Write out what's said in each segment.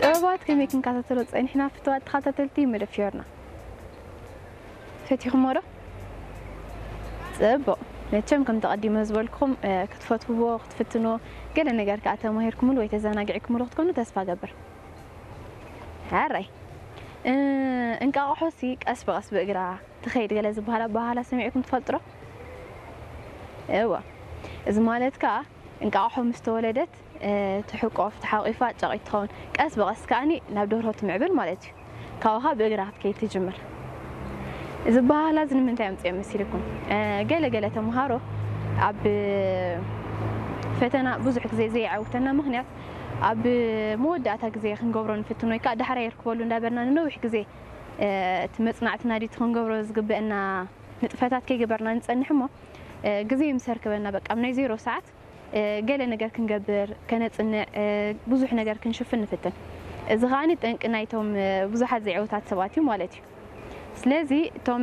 ጥበባት ከመይ ክንከታተሎ ጸኒሕና ፍትዋት ተኸታተልቲ መደብ ፊዮርና? ፈቲኹሞ ዶ? ጽቡቕ። መቸም ከም ተቐዲመ ዝበልኩም ክትፈትውዎ ክትፍትንዎ ገለ ነገር ከኣ ተማሂርኩምሉ ወይ ተዘናጊዕኩምሉ ክትኮኑ ተስፋ ገብር። ሕራይ እንቃቕሖ ሲ ቀስ ብቐስ ብእግራ ትኸይድ ገለ ዝበሃል ኣበሃህላ ሰሚዕኩም ትፈልጡ ዶ? እወ። እዚ ማለት ከኣ እንቃቕሖ ምስ ተወለደት ትሕቆፍ፣ ተሓቂፋ ጨቒት ትኸውን። ቀስ ብቐስ ከኣኒ ናብ ደርሆ ትምዕብል ማለት እዩ። ካብኡ ከኣ ብእግራ ክትከይድ ትጅምር። እዚ ኣበሃህላ እዚ ንምንታይ ኣምፅኦ መሲልኩም? ገለ ገለ ተምሃሮ ኣብ ፈተና ብዙሕ ግዜ ዘይዓውተና ምኽንያት ኣብ መወዳእታ ግዜ ክንገብሮ ንፍትን ወይ ከዓ ዳሕራይ ይርክበሉ እንዳበልና ንነዊሕ ግዜ እቲ መፅናዕትና ድዩ እቲ ክንገብሮ ዝግበአና ንጥፈታት ከይገበርና ንፀንሕ እሞ ግዜ ምስ ኣርከበና በቃ ኣብ ናይ ዜሮ ሰዓት ገለ ነገር ክንገብር ከነፅንዕ ብዙሕ ነገር ክንሽፍን ንፍትን። እዚ ከዓኒ ጠንቂ ናይቶም ብዙሓት ዘይዕውታት ሰባት እዩ ማለት እዩ። ስለዚ እቶም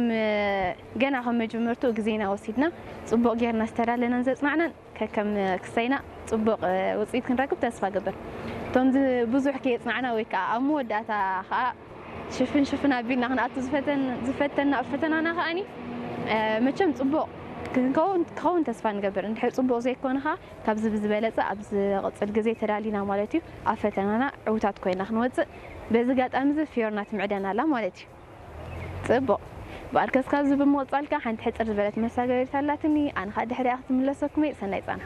ገና ከም መጀመርትኡ ግዜና ወሲድና ፅቡቕ ጌርና ዝተዳለናን ዘፅናዕናን ከከም ክሳይና ፅቡቕ ውፅኢት ክንረክብ ተስፋ ገብር። እቶም ብዙሕ ከየፅናዕና ወይ ከዓ ኣብ መወዳእታ ከዓ ሽፍን ሽፍን ኣቢልና ክንኣቱ ዝፈተና ኣብ ፈተናና ከዓኒ መቸም ፅቡቕ ክኸውን ተስፋ ንገብር። እንድሕር ፅቡቕ ዘይኮነ ከዓ ካብዚ ብዝበለፀ ኣብ ዝቕፅል ግዜ ተዳሊና ማለት እዩ ኣብ ፈተናና ዕውታት ኮይና ክንወፅእ በዚ ጋጣሚ እዚ ፊዮርና ትምዕደና ኣላ ማለት እዩ። ፅቡቕ። በኣርከስ ካብዚ ብምቕፃል ከዓ ሓንቲ ሕፅር ዝበለት መሳገሪት ኣላትኒ። ኣነ ከዓ ድሕሪኣ ክትምለሰኩም እየ። ሰናይ ፃና።